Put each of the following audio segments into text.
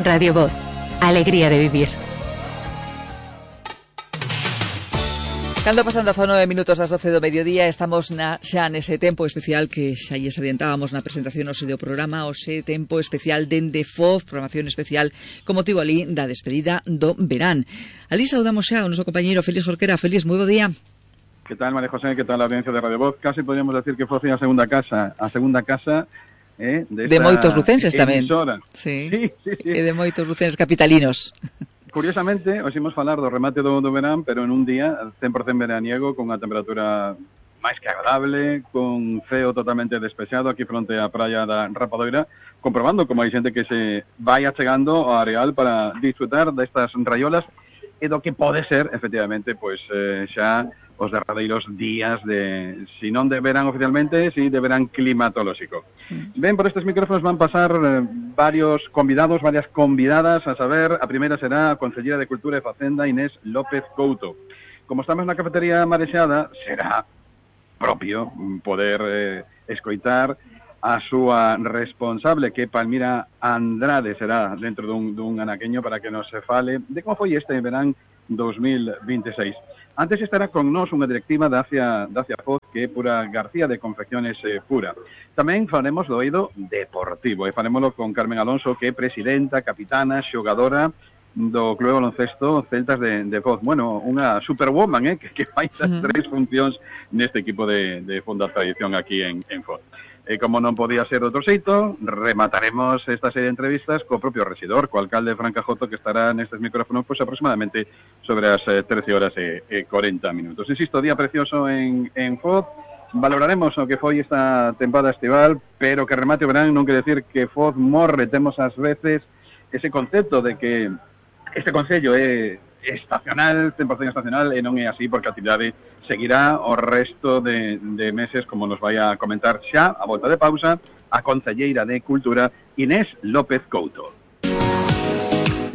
Radio Voz, alegría de vivir. Cando pasando a 9 minutos ás 12 do mediodía, estamos xa nese tempo especial que xa lles adiantábamos na presentación do programa, o tempo especial dende FOF, programación especial con motivo ali da despedida do verán. Ali saudamos xa ao noso compañeiro Félix Jorquera. Félix, moi bo día. Que tal, María José? Que tal a audiencia de Radio Voz? Casi podríamos decir que FOF é a segunda casa de moitos lucenses tamén. Sí. E de moitos lucenses capitalinos. Curiosamente, hoxe imos falar do remate do verán, pero en un día 100% veraniego, con unha temperatura máis que agradable, con ceo totalmente despexado aquí fronte á praia da Rapadoira, comprobando como hai xente que se vai achegando ao areal para disfrutar destas raiolas e do que pode ser, efectivamente, pois xa os derradeiros días de, si non de verán oficialmente, si de verán climatolóxico. Ben, por estes micrófonos van pasar varios convidados, varias convidadas, a saber, a primeira será a Conselleira de Cultura e Facenda, Inés López Couto. Como estamos na cafetería marexada, será propio poder escoitar a súa responsable, que Palmira Andrade, será dentro dun anaqueño para que nos se fale de como foi este verán 2026. Antes estará con nós unha directiva da FOZ, que é Pura García de Confecciones Pura. Tamén faremos do eido deportivo, e farémoslo con Carmen Alonso, que é presidenta, capitana, xogadora do Club Baloncesto Celtas de FOZ. Bueno, unha superwoman, que fai as tres funcións neste equipo de Fonda Tradición aquí en FOZ. E como non podía ser outro xeito, remataremos esta serie de entrevistas co propio residor, co alcalde Fran Cajoto, que estará nestes micrófonos pois aproximadamente sobre as 13 horas e 40 minutos. Insisto, día precioso en FOZ. Valoraremos o que foi esta tempada estival, pero que remate o verán non quere decir que FOZ morre. Temos ás veces ese concepto de que este concello é estacional, 100% estacional, e non é así, porque a actividade seguirá o resto de meses, como nos vai a comentar xa, a volta de pausa, a concelleira de Cultura, Inés López Couto.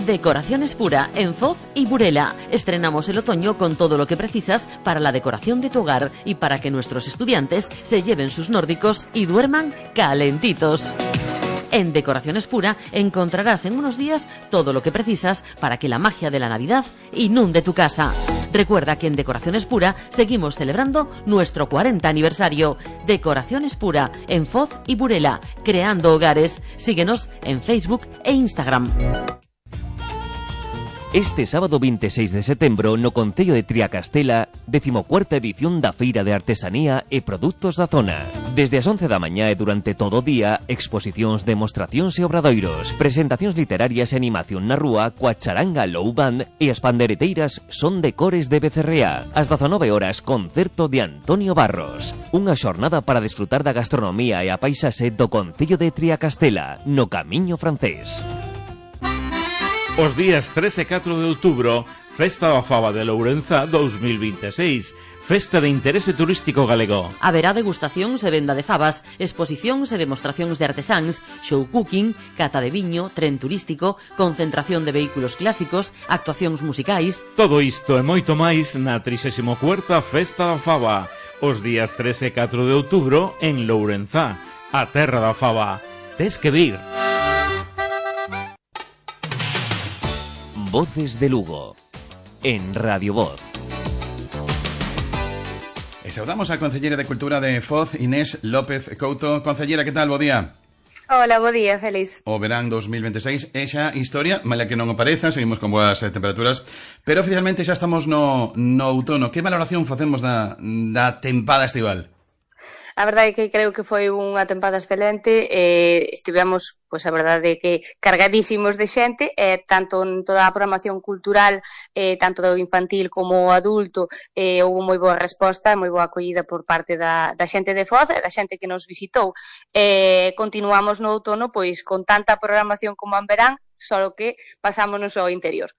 Decoraciones Pura en Foz y Burela. Estrenamos el otoño con todo lo que precisas para la decoración de tu hogar y para que nuestros estudiantes se lleven sus nórdicos y duerman calentitos. En Decoraciones Pura encontrarás en unos días todo lo que precisas para que la magia de la Navidad inunde tu casa. Recuerda que en Decoraciones Pura seguimos celebrando nuestro 40 aniversario. Decoraciones Pura en Foz y Burela, creando hogares. Síguenos en Facebook e Instagram. Este sábado 26 de setembro no Concello de Triacastela, 14ª edición da Feira de Artesanía e Produtos da Zona. Desde as 11 da mañá e durante todo o día, exposicións, demostracións e obradoiros, presentacións literarias e animación na rúa coa charanga Low Band e as pandereteiras Son de Cores de Becerrea. Ás 19 horas, concerto de Antonio Barros. Unha xornada para desfrutar da gastronomía e a paisaxe do Concello de Triacastela, no Camiño Francés. Os días 3 e 4 de outubro, Festa da Faba de Lourenzá 2026, festa de interese turístico galego. Haberá degustacións e venda de fabas, exposicións e demostracións de artesáns, show cooking, cata de viño, tren turístico, concentración de vehículos clásicos, actuacións musicais. Todo isto e moito máis na 34ª Festa da Faba, os días 3 e 4 de outubro en Lourenzá, a terra da faba. Tes que vir. Voces de Lugo, en Radio Voz. E saudamos a Concelleira de Cultura de Foz, Inés López Couto. Concelleira, que tal? Bo día. Hola, bo día, Félix. O verán 2026 é xa historia, mala que non o pareza, seguimos con boas temperaturas, pero oficialmente xa estamos no outono. Que valoración facemos da tempada estival? A verdade é que creo que foi unha tempada excelente, estivemos, pois a verdade é que cargadísimos de xente, tanto en toda a programación cultural, tanto do infantil como o adulto, houve moi boa resposta, moi boa acollida por parte da xente de Foz e da xente que nos visitou. Continuamos no outono pois con tanta programación como en verán, só que pasámonos ao interior.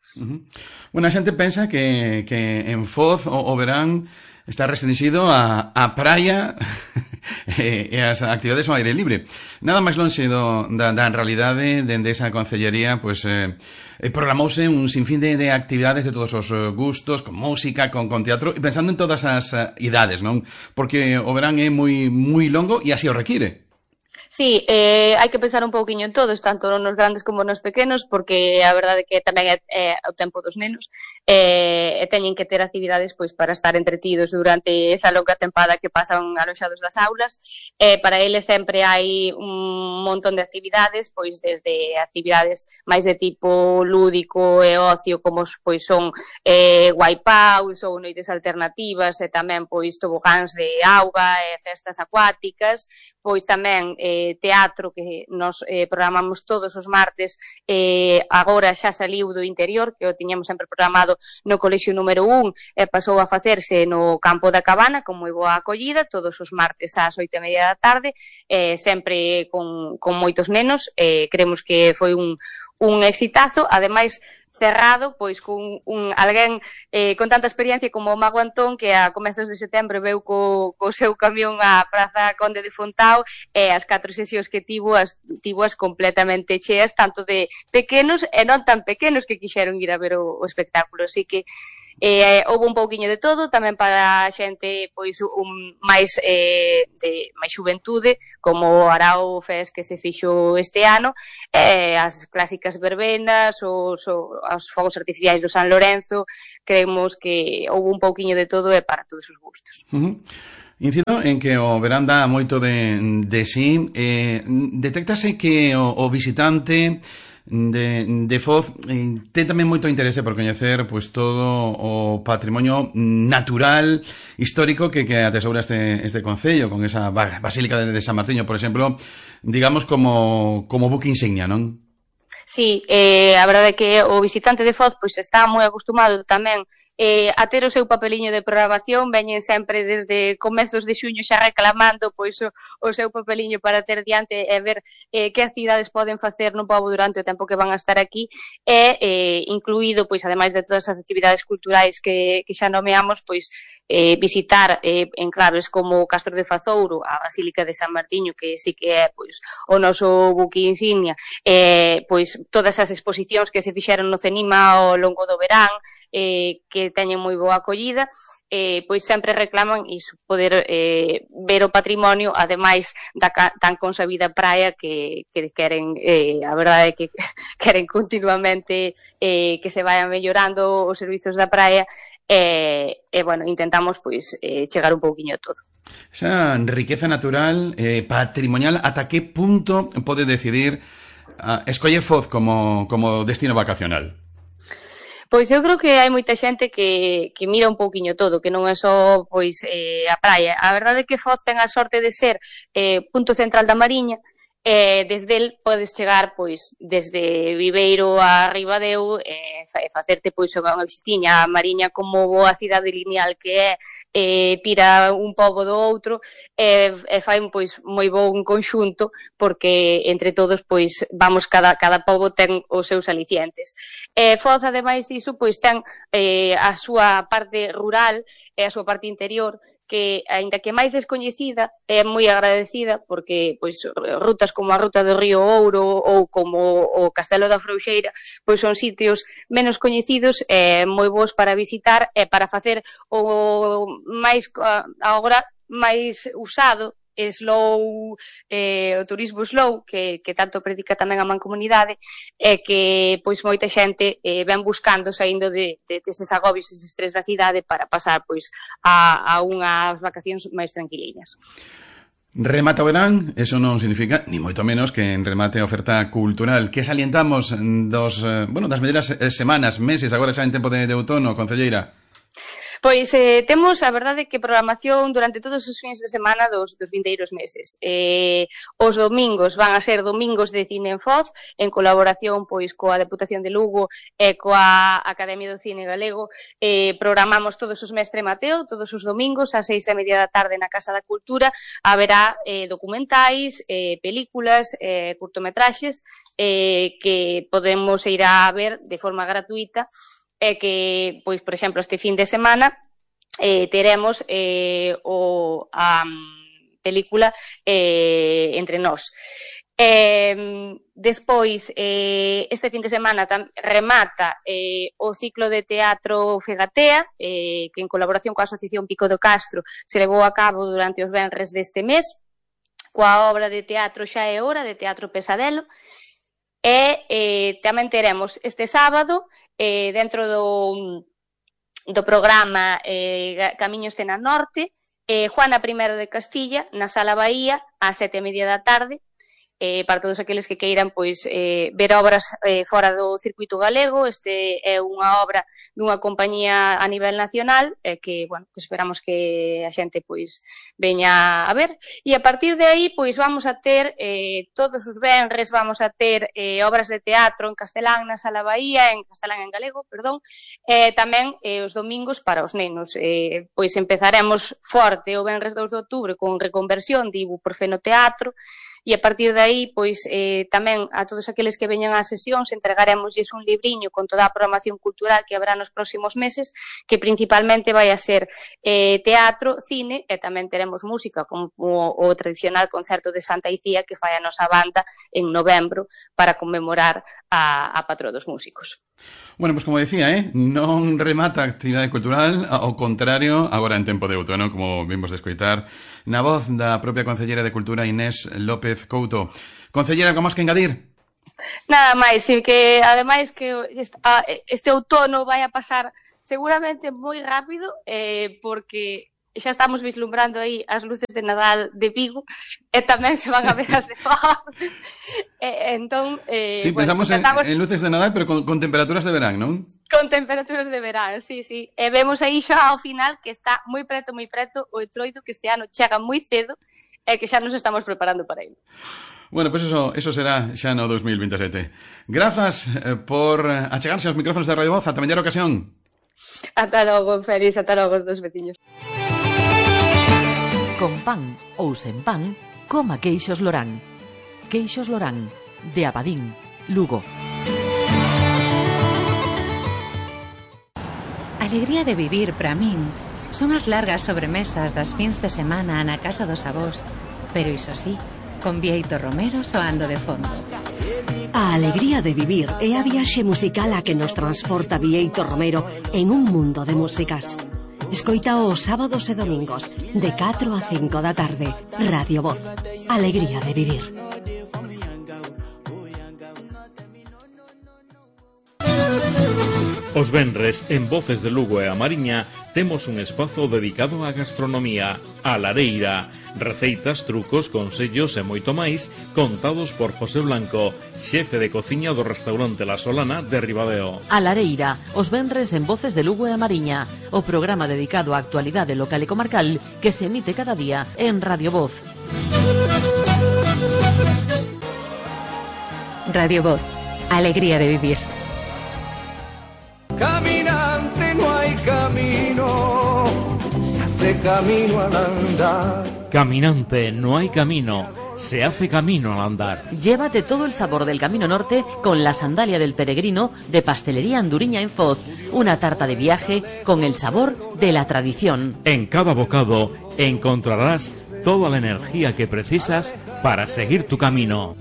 Bueno, a xente pensa que en Foz o verán está restringido a praia e as actividades ao aire libre. Nada máis lonxe da realidade dende esa concellería, pois programouse un sinfín de actividades de todos os gustos, con música, con teatro, e pensando en todas as idades, non? Porque o verán é moi longo e así o require. Sí, hai que pensar un pouquiño en todos, tanto nos grandes como nos pequenos, porque a verdade que tamén é o tempo dos nenos, e teñen que ter actividades pois para estar entretidos durante esa longa tempada que pasan aloxados das aulas. Para eles sempre hai un montón de actividades, pois desde actividades máis de tipo lúdico e ocio, como pois son wipeouts ou noites alternativas, e tamén pois tobogáns de auga e festas acuáticas, pois tamén teatro que nos programamos todos os martes, agora xa saliu do interior, que o tiñamos sempre programado no colexio número 1 e pasou a facerse no campo da Cabana con moi boa acollida todos os martes ás 8:30 da tarde, sempre con moitos nenos. Creemos que foi un exitazo, ademais cerrado pois con alguén con tanta experiencia como o Mago Antón, que a comezos de setembro veu co seu camión á Praza Conde de Fontao, e as 4 sesións que tivo as completamente cheas, tanto de pequenos e non tan pequenos que quixeron ir a ver o espectáculo. Así que houve un pouquiño de todo, tamén para a xente pois máis de máis xuventude, como o Arao Fest que se fixo este ano, as clásicas verbenas, os fogos artificiais do San Lorenzo. Creemos que houve un pouquiño de todo e para todos os gustos. Incido en que o verán dá moito de sí. Detéctase que o visitante de Foz ten tamén moito interese por coñecer pois todo o patrimonio natural histórico que atesoura este concello, con esa Basílica de San Martiño, por exemplo, digamos como buque insignia, non? Sí, a verdade é que o visitante de Foz pois está moi acostumado tamén a ter o seu papeliño de programación. Veñen sempre desde comezos de xuño xa reclamando pois o seu papeliño para ter diante e ver que actividades poden facer no pobo durante o tempo que van a estar aquí, e incluído, pois ademais de todas as actividades culturais que xa nomeamos, pois visitar enclaves como o Castro de Fazouro, a Basílica de San Martiño, que sí que é pois o noso buque insignia, pois todas as exposicións que se fixeron no CENIMA ao longo do verán, que teñen moi boa acollida, pois sempre reclaman iso, poder ver o patrimonio, ademais da tan consabida praia que queren, a verdade é que queren continuamente que se vayan mellorando os servizos da praia, e bueno, intentamos pois chegar un pouquiño a todo. Esa riqueza natural, patrimonial, ata que punto pode decidir escoller Foz como destino vacacional? Pois eu creo que hai moita xente que mira un pouquiño todo, que non é só pois a praia. A verdade é que Foz ten a sorte de ser punto central da Mariña, desde el podes chegar pois desde Viveiro a Ribadeo e facerte pois unha visitiña a Mariña como boa cidade lineal que é, tira un pobo do outro e fai pois moi bon conxunto, porque entre todos pois vamos, cada pobo ten os seus alicientes. Foz, ademais diso, pois ten a súa parte rural e a súa parte interior, que, aínda que máis descoñecida, é moi agradecida, porque pois rutas como a Ruta do Río Ouro ou como o Castelo da Frouxeira pois son sitios menos coñecidos e moi bons para visitar e para facer o máis agora máis usado slow, o turismo slow que tanto predica tamén a Mancomunidade, e que pois moita xente ven buscando, saindo deses agobios, ese estrés da cidade, para pasar pois a unhas vacacións máis tranquiliñas. Remata o verán, eso non significa ni moito menos que en remate a oferta cultural. Que salientamos das mellores semanas, meses, agora xa en tempo de outono, concelleira? Pois temos, a verdade, que programación durante todos os fins de semana dos vindeiros meses. Os domingos van a ser domingos de cine en Foz, en colaboración pois coa Deputación de Lugo e coa Academia do Cine Galego. Programamos todos os Mestre Mateo, todos os domingos, ás 6:30 da tarde na Casa da Cultura. Haberá documentais, películas, curtometraxes que podemos ir a ver de forma gratuita, e que, pois, por exemplo, este fin de semana teremos a película Entre Nós. Despois, este fin de semana remata o ciclo de teatro Fegatea, que en colaboración coa Asociación Pico do Castro se levou a cabo durante os venres deste mes. coa obra de teatro Xa é hora, de Teatro Pesadelo, e tamén teremos este sábado, dentro do programa Camiño Escena Norte, Juana I de Castilla, na Sala Bahía, ás 7:30 da tarde, para todos aqueles que queiran ver obras fora do circuito galego. Este é unha obra dunha compañía a nivel nacional que esperamos que a xente veña a ver, e a partir de aí vamos a ter todos os venres vamos a ter obras de teatro en castelán na Sala Bahía, en castelán en galego, perdón, tamén os domingos para os nenos. Empezaremos forte o venres 2 de outubro con Reconversión de Ibuprofeno Teatro, e a partir de aí, tamén a todos aqueles que veñan ás sesións entregaremosles un libriño con toda a programación cultural que habrá nos próximos meses, que principalmente vai a ser teatro, cine, e tamén teremos música, como o tradicional concerto de Santa Icía que fai a nosa banda en novembro para conmemorar a patró dos músicos. Bueno, pues como decía, non remata a actividade cultural, ao contrario, agora en tempo de outono, como vimos de escoitar, na voz da propia Concellera de Cultura Inés López Couto. Concellera, algo máis que engadir? Nada máis, e que ademais que este outono vai a pasar seguramente moi rápido, porque xa estamos vislumbrando aí as luces de Nadal de Vigo e tamén se van a ver as de Foz. Entón, sí, pensamos en luces de Nadal, pero con temperaturas de verán, non? Con temperaturas de verán, sí. E vemos aí xa ao final que está moi preto o Entroido, que este ano chega moi cedo e que xa nos estamos preparando para ele. Bueno, pues eso será xa no 2027. Grazas por achegarse aos micrófonos de Radio Voz. Ata mellor ocasión. Ata logo, Félix, ata logo, dos veciños. Con pan ou sen pan, coma queixos Lorán. Queixos Lorán, de Abadín, Lugo. Alegría de vivir para min son as largas sobremesas das fins de semana na casa dos avós, pero iso sí, con Bieito Romero soando de fondo. A alegría de vivir é a viaxe musical a que nos transporta Bieito Romero en un mundo de músicas. Escoita os sábados e domingos de 4 a 5 da tarde. Radio Voz. Alegría de vivir. Os venres, en Voces de Lugo e a Mariña, temos un espazo dedicado á gastronomía, a lareira. Receitas, trucos, consellos e moito máis contados por José Blanco, xefe de cociña do restaurante La Solana de Ribadeo. A lareira, os venres en Voces de Lugo e a Mariña, o programa dedicado á actualidade local e comarcal que se emite cada día en Radio Voz. Radio Voz. Alegría de vivir. Caminante no hay camino, se hace camino al andar. Caminante no hay camino, se hace camino al andar. Llévate todo el sabor del Camino Norte con la sandalia del peregrino de Pastelería Anduriña en Foz. Una tarta de viaje con el sabor de la tradición. En cada bocado encontrarás toda la energía que precisas para seguir tu camino.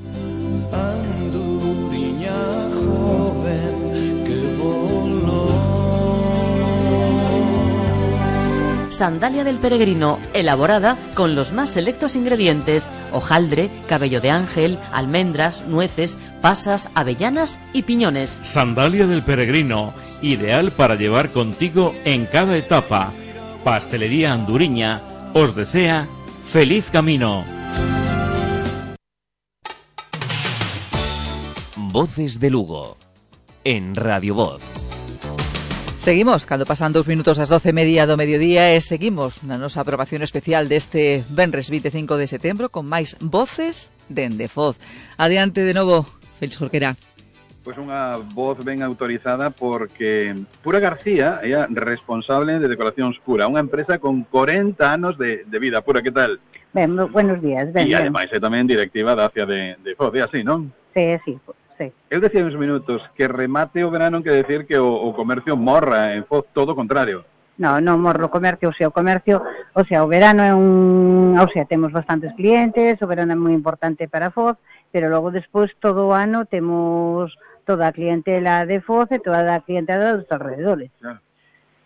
Sandalia del peregrino, elaborada con los más selectos ingredientes: hojaldre, cabello de ángel, almendras, nueces, pasas, avellanas y piñones. Sandalia del peregrino, ideal para llevar contigo en cada etapa. Pastelería Anduriña os desea feliz camino. Voces de Lugo, en Radio Voz. Seguimos, cando pasan 2 minutos ás 12:30 do mediodía e seguimos na nosa aprobación especial deste venres 25 de setembro con máis voces dende Foz. Adiante de novo, Félix Jorquera. Pois unha voz ben autorizada porque Pura García é a responsable de Decoracións Pura, unha empresa con 40 anos de vida. Pura, que tal? Ben, buenos días. Ben, e ademais é tamén directiva da ACIA de Foz, é así, non? Sí. Eu decía uns minutos que remate o verano quer decir que o comercio morra en Foz, todo o contrario. Non morro o comercio, o verano é temos bastantes clientes, o verano é moi importante para Foz, pero logo despois todo o ano temos toda a clientela de Foz e toda a clientela dos alrededores. Claro.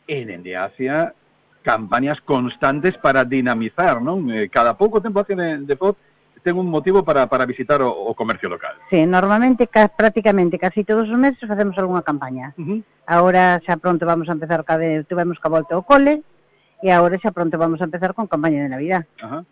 E dende Asia, campañas constantes para dinamizar, non? Cada pouco tempo Asia de Foz ten un motivo para visitar o comercio local. Sí, normalmente, prácticamente, casi todos os meses facemos algunha campaña. Agora xa pronto vamos a empezar, tuvemos que volta ao cole, e agora xa pronto vamos a empezar con campaña de Navidad. Ajá.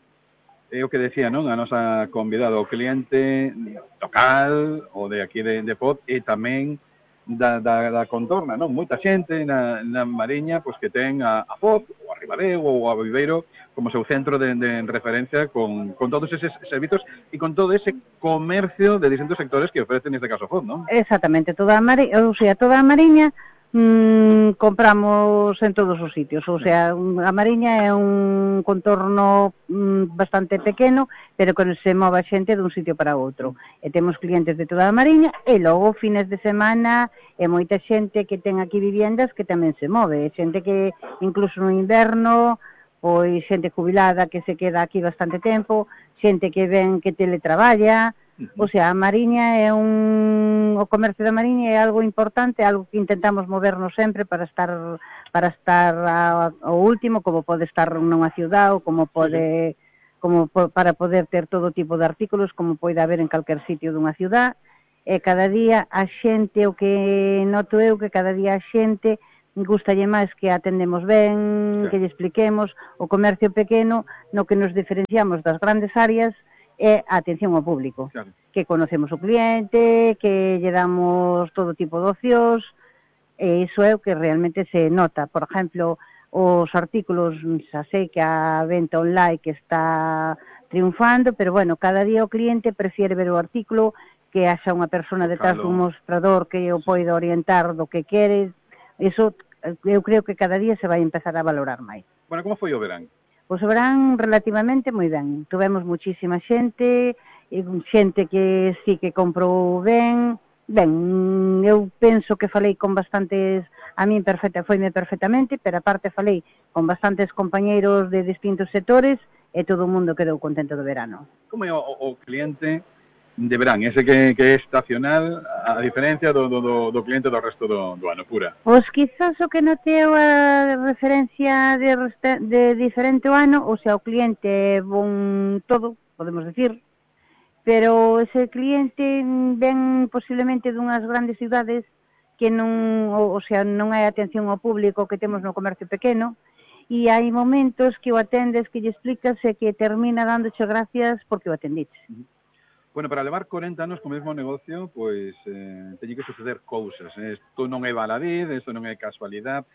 É o que decía, non? A nosa convidada, o cliente local, o de aquí de Foz, e tamén da contorna, non? Moita xente na Mariña, pois que ten a Foz, ou a Ribadeo, ou a Viveiro, como seu centro de referencia con todos eses servizos e con todo ese comercio de distintos sectores que ofrece neste caso Foz, non? Exactamente, toda a Mariña compramos en todos os sitios, ou sea, a Mariña é un contorno bastante pequeno, pero que se move a xente dun sitio para outro. E temos clientes de toda a Mariña, e logo fines de semana e moita xente que ten aquí viviendas que tamén se move, xente que incluso no inverno, pois xente jubilada que se queda aquí bastante tempo, xente que ven que teletraballa. O sea, a Mariña é o comercio da Mariña é algo importante, algo que intentamos movernos sempre para estar ao último, como pode estar nunha ciudad ou para poder ter todo tipo de artículos, como pode haber en calquer sitio dunha ciudad. E cada día a xente, o que noto eu, que cada día a xente gustalle máis que atendemos ben, que lle expliquemos. O comercio pequeno, no que nos diferenciamos das grandes áreas, é a atención ao público, que conocemos o cliente, que lle damos todo tipo de ocios, e iso é o que realmente se nota. Por exemplo, os artículos, xa sei que a venta online que está triunfando, pero bueno, cada día o cliente prefiere ver o artículo, que haxa unha persona detrás dun mostrador que o poida orientar do que quere. Iso eu creo que cada día se vai empezar a valorar máis. Bueno, como foi o verán? Pois o verán relativamente moi ben. Tuvemos muchísima xente que sí que comprou ben. Ben, eu penso que falei con bastantes, a min foime perfectamente, pero aparte falei con bastantes compañeiros de distintos sectores e todo o mundo quedou contento do verano. Como é o cliente de verán, ese que é estacional, a diferencia do cliente do resto do ano, pura? Pois quizás o que noteo a referencia de diferente o ano, o sea, o cliente é bon todo, podemos decir, pero ese cliente ven posiblemente dunhas grandes cidades que non, o sea, non hai atención ao público que temos no comercio pequeno, e hai momentos que o atendes, que lle explicas e que termina dándoche gracias porque o atendiches. Bueno, para levar 40 anos co mesmo negocio, pois teñen que suceder cousas. Isto non é baladí, isto non é casualidade.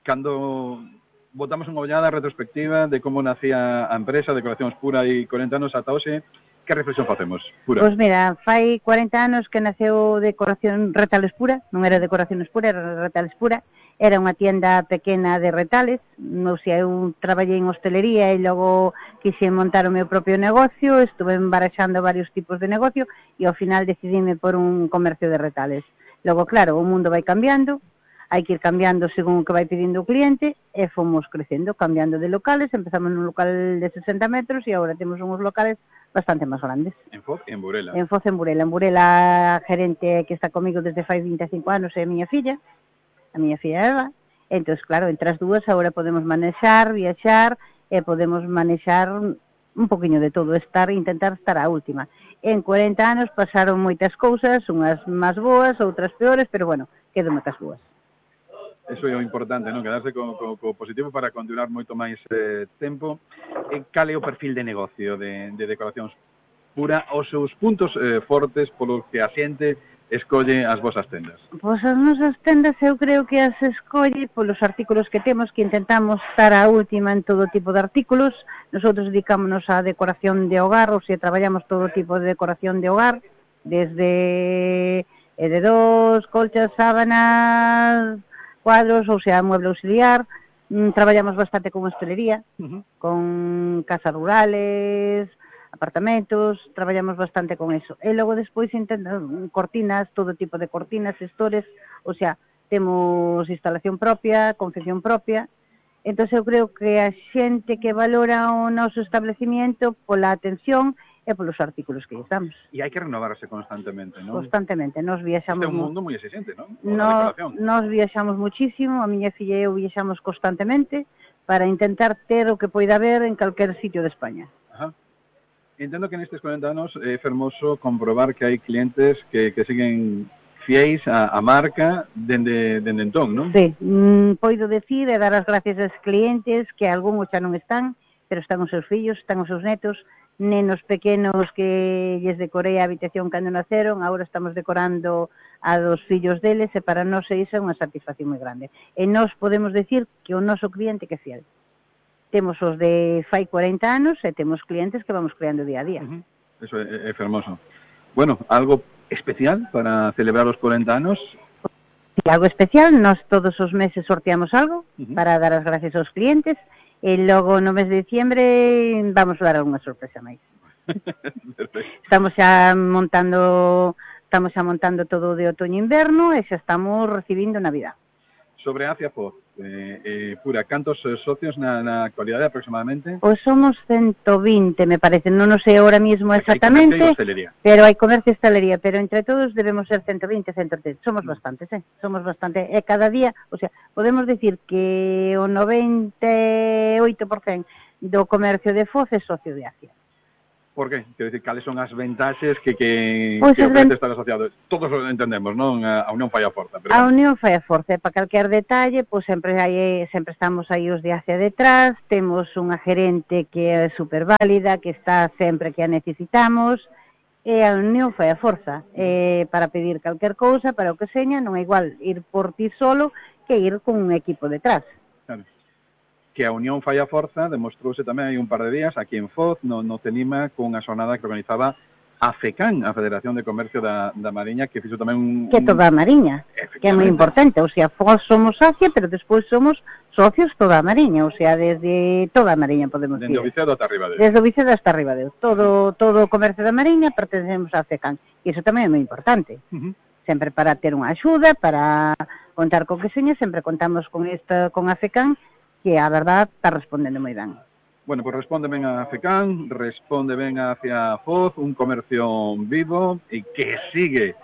Cando botamos unha ollada retrospectiva de como nacía a empresa Decoracións Pura e 40 anos ata hoxe, que reflexión facemos, Pura? Pois mira, fai 40 anos que naceu Decoración Retales Pura, non era Decoracións Pura, era Retales Pura. Era unha tienda pequena de retales, non sei, eu traballei en hostelería e logo quixen montar o meu propio negocio, estuve baraxando varios tipos de negocio e ao final decidime por un comercio de retales. Logo, claro, o mundo vai cambiando, hai que ir cambiando según o que vai pedindo o cliente e fomos crecendo, cambiando de locales, empezamos nun local de 60 metros e agora temos uns locales bastante máis grandes. En Foz e en Burela? En Foz e en Burela. En Burela, a gerente que está comigo desde fai 25 anos é a miña filla Eva, entón, claro, entre as dúas agora podemos manexar, viaxar e podemos manexar un poquinho de todo, intentar estar á última. En 40 anos pasaron moitas cousas, unhas máis boas, outras peores, pero bueno, quedo moitas boas. Eso é o importante, non? Quedarse co positivo para continuar moito máis tempo. Cal é o perfil de negocio de Decoracións Pura, os seus puntos fortes polos que a xente escolle as vosas tendas? Pois as nosas tendas eu creo que as escolle polos artículos que temos, que intentamos estar a última en todo tipo de artículos. Nosotros dedicámonos á decoración de hogar, ou sea, traballamos todo tipo de decoración de hogar, desde edredóns, colchas, sábanas, cuadros, ou sea, mueble auxiliar. Traballamos bastante con hostelería, con casas rurales, apartamentos, traballamos bastante con eso. E logo despois cortinas, todo tipo de cortinas, estores, o sea, temos instalación propia, confección propia. Entón eu creo que a xente que valora o noso establecimiento pola atención e polos artículos que lle damos. E hai que renovarse constantemente, non? Constantemente, nos viaxamos... Este é un mundo moi exigente, non? Nos viaxamos muchísimo, a miña filla e eu viaxamos constantemente para intentar ter o que poida haber en calquer sitio de España. Entendo que nestes 40 anos é fermoso comprobar que hai clientes que siguen fiéis a marca dende entón, non? Sí, poido decir e dar as gracias aos clientes que algúns xa non están, pero están os seus fillos, están os seus netos, nenos pequenos que lles decorei a habitación cando naceron, agora estamos decorando a dos fillos deles e para nós iso é unha satisfacción moi grande. E nós podemos decir que o noso cliente que é fiel. Temos os de fai 40 anos e temos clientes que vamos creando día a día. Eso é fermoso. Bueno, algo especial para celebrar os 40 anos? Sí, algo especial, nós todos os meses sorteamos algo para dar as gracias aos clientes e logo no mes de diciembre vamos dar algunha sorpresa máis. Estamos xa montando todo o de outoño e inverno e xa estamos recibindo Navidad. Sobre Acia Foz, Pura, cantos socios na actualidade aproximadamente? Pois somos 120, me parece, non sei ahora mismo exactamente, pero hai comercio e hostelería, pero entre todos debemos ser 120, 130, somos bastantes, somos bastante, e cada día, o sea, podemos decir que o 98% do comercio de Foz é socio de Acia. Por qué? Quero dicir, cales son as ventaxes que ofrece estar asociado? Todos lo entendemos, non? A unión fai a forza. Pero... A unión fai a forza, para calquer detalle, pois sempre estamos aí os de Acia detrás, temos unha gerente que é super válida, que está sempre que a necesitamos, e a unión fai a forza. Para pedir calquer cousa, para o que seña, non é igual ir por ti solo que ir con un equipo detrás. Claro. Que a unión fai a forza demostrouse tamén hai un par de días aquí en Foz, no Cenima, con unha xornada que organizaba a FECAN, a Federación de Comercio da Mariña, que fixo tamén Que toda a Mariña, que é moi importante, o sea, Foz somos Acia, pero despois somos socios toda a Mariña, o sea, desde toda a Mariña podemos decir. Desde o Vicedo hasta arriba de Desde o Vicedo hasta arriba de todo o comercio da Mariña pertencemos a FECAN, e iso tamén é moi importante. Sempre para ter unha axuda, para contar con que seña, sempre contamos con a FECAN, que a verdad está respondendo moi ben. Bueno, pues responde ben a FECAN, responde ben hacia Foz, un comercio vivo e que sigue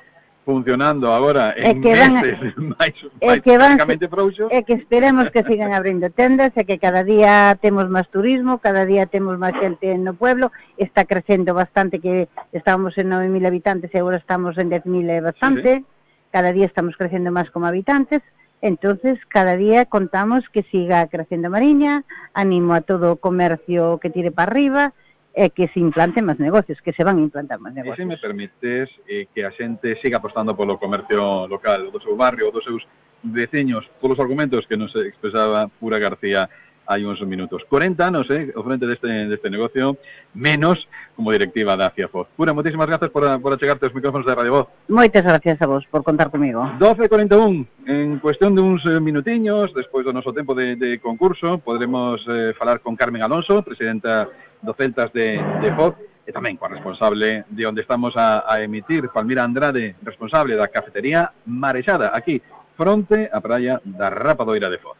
funcionando agora en meses máis prácticamente frouxos. E que esperemos que sigan abrindo tendas e que cada día temos máis turismo, cada día temos máis xente no pueblo, está crecendo bastante, que estábamos en 9.000 habitantes e agora estamos en 10.000 e bastante, cada día estamos crecendo máis como habitantes. Entonces, cada día contamos que siga crecendo Mariña, animo a todo o comercio que tire para arriba e que se implanten máis negocios, que se van a implantar máis negocios. E se me permites que a xente siga apostando polo comercio local, do seu barrio, dos seus veciños, polos argumentos que nos expresaba Pura García hai uns minutos. 40 anos, ao frente deste negocio, menos como directiva da Acia Foz. Pura, moitísimas grazas por achegarte os micrófonos de Radio Voz. Moitas gracias a vos por contar comigo. 12:41, en cuestión de uns minutiños, despois do noso tempo de concurso, podremos falar con Carmen Alonso, presidenta do Celtas de Foz, e tamén coa responsable de onde estamos a emitir, Palmira Andrade, responsable da cafetería Marexada, aquí, fronte á praia da Rapadoira de Foz.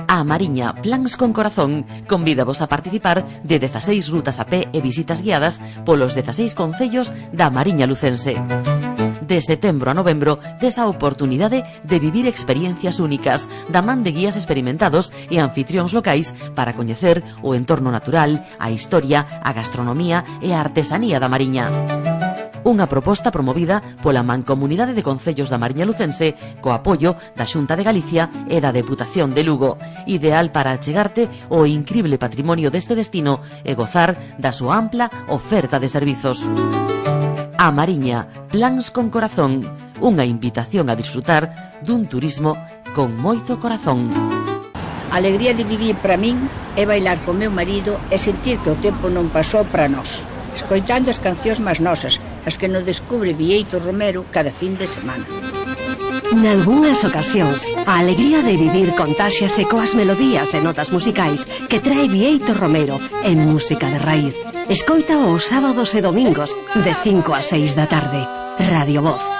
A Mariña Plans con Corazón convídavos a participar de 16 rutas a pé e visitas guiadas polos 16 concellos da Mariña lucense. De setembro a novembro, tes a oportunidade de vivir experiencias únicas da man de guías experimentados e anfitrións locais para coñecer o entorno natural, a historia, a gastronomía e a artesanía da Mariña. Unha proposta promovida pola Mancomunidade de Concellos da Mariña lucense co apoio da Xunta de Galicia e da Deputación de Lugo, ideal para achegarte o incrible patrimonio deste destino e gozar da súa ampla oferta de servizos. A Mariña, Plans con Corazón, unha invitación a disfrutar dun turismo con moito corazón. A alegría de vivir para min é bailar con meu marido e sentir que o tempo non pasou para nós, escoitando as cancións máis nosas, as que nos descubre Vieito Romero cada fin de semana. Nalgúnas ocasións, a alegría de vivir contáxiase coas melodías e notas musicais que trae Vieito Romero en música de raíz. Escoita os sábados e domingos de 5 a 6 da tarde. Radio Voz.